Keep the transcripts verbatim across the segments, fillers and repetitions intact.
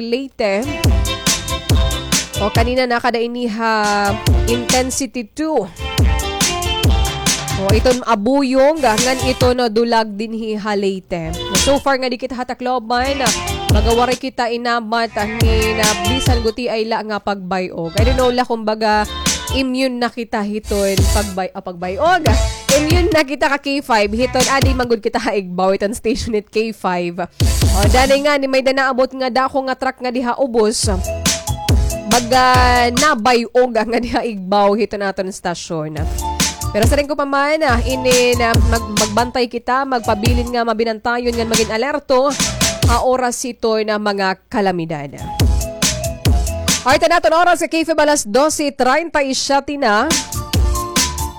Leyte. O, kanina nakada ini ha intensity two. O, iton abuyog, ngan iton dulag dinhi ha Leyte. So far nga di kita ha Tacloban, baga waray kita inabat hin bisan gutiay la nga pagbay-og. I don't know la kung baga immune na kita hiton pagbay-, ah, pagbay-og. Immune na kita ka K five, hiton adi man gud kita ha igbaw, iton station it K five. O, danay ngani may-ada naabot nga dako nga truck nga diha ubos. Baga nabay-og nga diha igbaw hiton aton stasyon. Pero siring ko pa man, ah, inin, ah, mag-, magbantay kita, magpabilin nga mabinantayon ngan magin alerto ha oras hiton mga kalamidad. Alright, an aton oras ha K five alas dose treinta y siete na.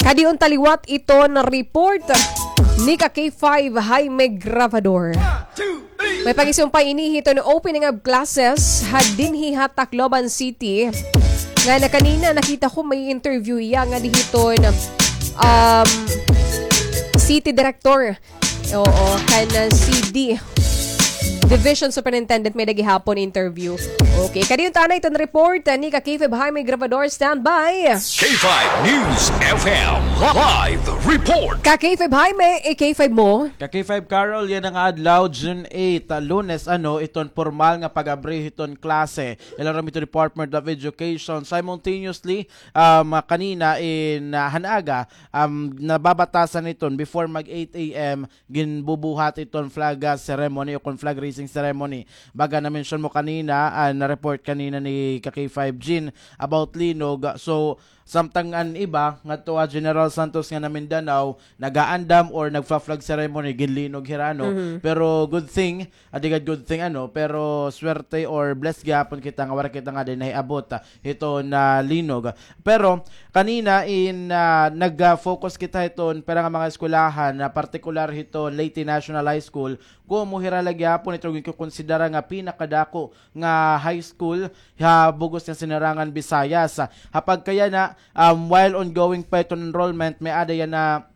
Kadi unta liwat iton report ni ka K five Jaime Grabador. May pangisumpay ini hiton opening of classes ha dinhi ha Tacloban City. Nga na kanina nakita ko may interview iya nga di hiton, um, city director. Oo, kan, uh, C D. Division Superintendent may-ada gihapon interview. Okay, kadi unta na iton report, uh, ni ka K five Jaime Grabador, standby. K five News F M live report. Ka K five Jaime, eh, K five mo. Ka K five Carol, yana nga adlaw, June eight, ah, Lunes, ano, iton pormal nga pag-abri hiton klase. Ilarom hiton Department of Education. Simultaneously, um, kanina in, ah, han aga, um, nababatasan hiton before mag eight A M, ginbubuhat iton flag, ah, ceremony o kon flag raising ceremony. Baga na-mention mo kanina, ah, na-report kanina ni ka K five Jean about linog. So, samtang an iba, ngadto ha General Santos nga na Mindanao, nagaandam or nagfa-flag ceremony, ginlinog hira, no? Mhm. Pero good thing, adi gad good thing, ano, pero swerte or blessed gihapon kita nga wara kita ngadi nahiabot, ah, hiton linog. Pero kanina in, ah, nag-focus kita hiton pira nga mga eskwelahan, na partikular hiton Leyte National High School, komo hira la gihapon iton ginkukonsidera nga pinakadako nga high school ha bug-os nga sinarangan Visayas. Ha pagkayana, um, while ongoing pa iton enrollment, may-ada yana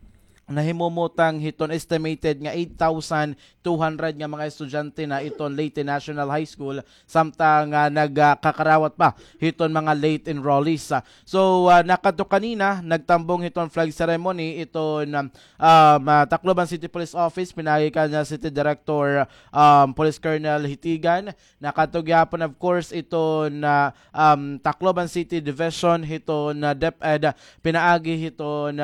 nahimumutang hiton estimated nga eight thousand two hundred nga mga estudyante na iton Leyte National High School, samtang, ah, nagkakarawat pa hiton mga late enrollees. Ah, so, ah, nakadto kanina, nagtambong hiton flag ceremony iton, um, um, ah, Tacloban City Police Office, pinaagi kan, ah, City Director, um, Police Colonel Hitigan, Nakadto gihapon, of course, iton, um, Tacloban City Division hiton DepEd, pinaagi hiton,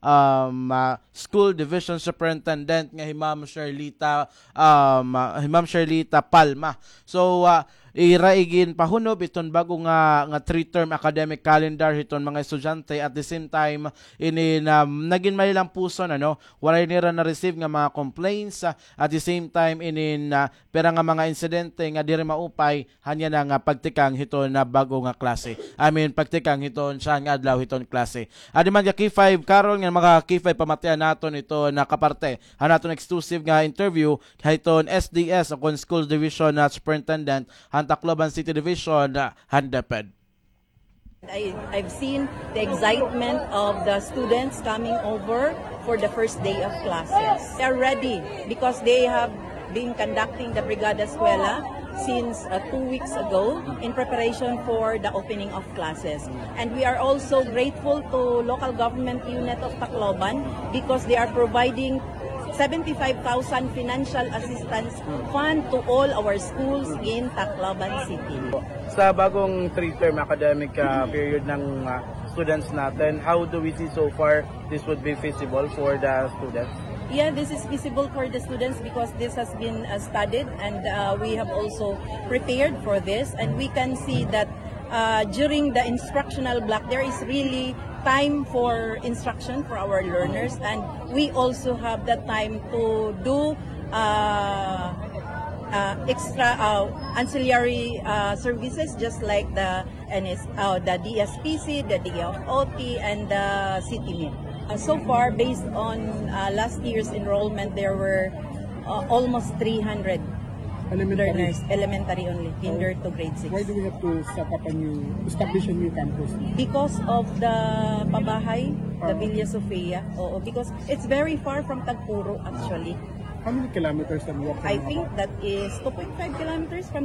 um, ah, School Division Superintendent nga hi Ma'am Sherlita, um, ah, hi Ma'am Sherlita Palma. So, ah, ira iginpahunob iton bag-o nga, nga three-term academic calendar hiton mga estudyante. At the same time, inin, um, nagin malilampuson, ano, waray nira na-receive nga mga complaints. Ah, at the same time, inin, ah, pira nga mga insidente nga diri maupay han yana nga pagtikang hiton bag-o nga klase. I mean, pagtikang hiton siya nga adlaw hiton klase. Adi man ka K five Carol nga mga K five, pamatian naton iton kaparte han aton exclusive nga interview hiton S D S o kon School Division, ah, Superintendent han Tacloban City Division, ah, han DepEd. I, I've seen the excitement of the students coming over for the first day of classes. They're ready because they have been conducting the Brigada Eskwela since, uh, two weeks ago in preparation for the opening of classes. And we are also grateful to local government unit of Tacloban because they are providing seventy-five thousand financial assistance fund to all our schools in Tacloban City. Sa bagong three-term academic, ah, period ng, ah, students natin, how do we see so far this would be feasible for the students? Yeah, this is feasible for the students because this has been, uh, studied and, uh, we have also prepared for this, and we can see that, uh, during the instructional block, there is really time for instruction for our learners, and we also have the time to do, uh, uh, extra, uh, ancillary, uh, services, just like the N S, uh, the D S P C, the D O T, and the City Meet. Uh, so far, based on, uh, last year's enrollment, there were, uh, almost three hundred learners, elementary only, kinder to grade six. Why do we have to set up a new, establish a new campus? Because of the pabahay, the Villa Sofia. Oo, because it's very far from Tagpuro, actually. How many kilometers can you walk from Abao? I think that is two point five kilometers from the